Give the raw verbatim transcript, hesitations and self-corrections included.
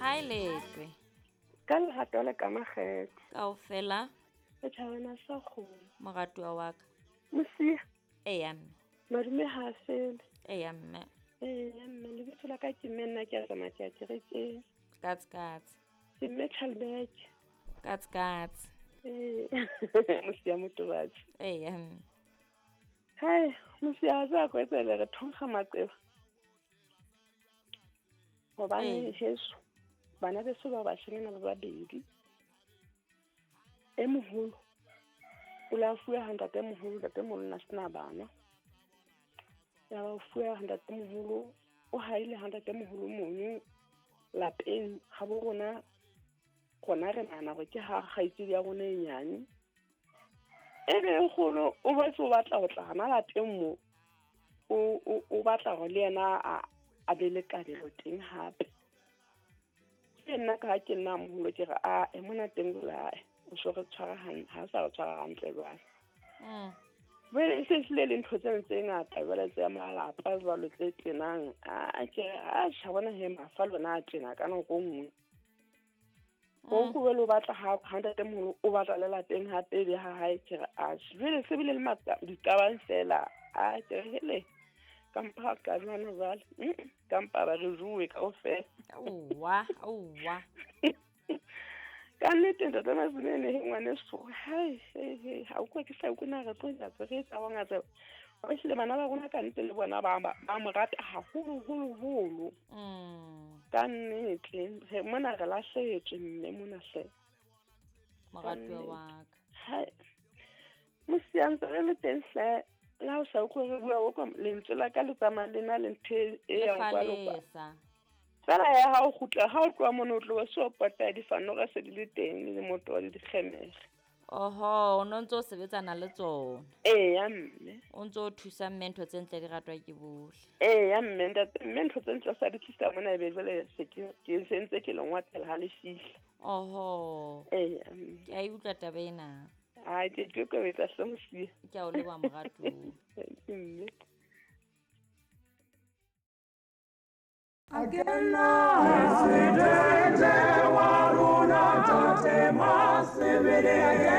Ha e letlwe. Ka lerato le ka makgethe. Kaofela. Setjhabana sa kgomo. Moratuwa wa ka. Mosia. Eya mme. Madume ha a fele. Eya mme. Eya mme, lebitso la ka ke mme nna ke a tsamaya ke ya kerekeng. Katse katse. Ke mme Chalbeke. Katse katse. Ee, Mosia Motobatsi. Eya mme. Hai, Mosia a tseba ko etsele re thonkga maqeba. Hobane Ee. heso, bana beso ba bashanyana ba babedi. E moholo o la fuwe ha ntatemoholo, ntatemoholo na sena bana. Ya ba o fuwe ha ntatemoholo, o haile ha ntatemoholo mono lapeng ha bo rona, rona re nahana hore ke ha kgaitsedi ya rona e nyane. E be e kgolo o boetse o batla ho tla hana lapeng mo, o, o, o batla hore le yena a, a be le kabelo teng hape. Ke nna ka ha ke nna moholo ke re, a, e mona teng jwale, o so re tshwara han-, ha o sa re tshwara hantle jwale. Mm. Jwale e se hlile le ntho tseno tse ngata jwale tse malapa jwalo tse tjenang. A, ke re, a, tjha, bona he, mafa lona a tjena ka nako e nngwe. Mm. Ho nkuwe le o batla ha, ha ntatemoholo o batla le lapeng hape e be ha hae, ke re, a, jwale se bile le matla, diqabang fela. A, ke re, hele, ka mpa ka jwana jwale. Mm, ka mpa ba re jowe kaofela. Aowa, aowa. Ka nnete ntate Masimene, he ngwaneso, hai, hei, hei, ha o kwa ke sa utlwe na re tlo etsa tse re etsa wa ngatse. Ba hlile bana ba rona ka nnete le bona ba, ba, ba mo rata haholo, holo, holo. Mm. Ka nnete, he, mona re lahlehetswe mme mona hle. Moratuwa wa ka. Hai. Mosia ntse re le teng hle. Le ha o sa utlwe re bua, o kwa lentswe la ka le tsamaya le na le ntho e, e Le yang kwa le kwa. falesa. Fela ya ha o kgutla, ha o tloha mono o tloha so pota difanoga se di le teng le moto wa le dikgemere. Oho, o no ntso o sebetsana le tsona. Eya mme. O ntso o thusa mme ntho tse ntle di ratwa ke bohle. Eya mme, ntate, mme ntho tse ntle sa di tlisa mona ebe jwale se ke, ke se ntse ke le ngwathela ha le fihla. Oho. Eya mme. Ke a e utlwa taba ena. Ai, ke ke ikokobetsa hle Mosia. Ke a o leboha moratuwa. Mme. Presidente wa rona Tate Masebele.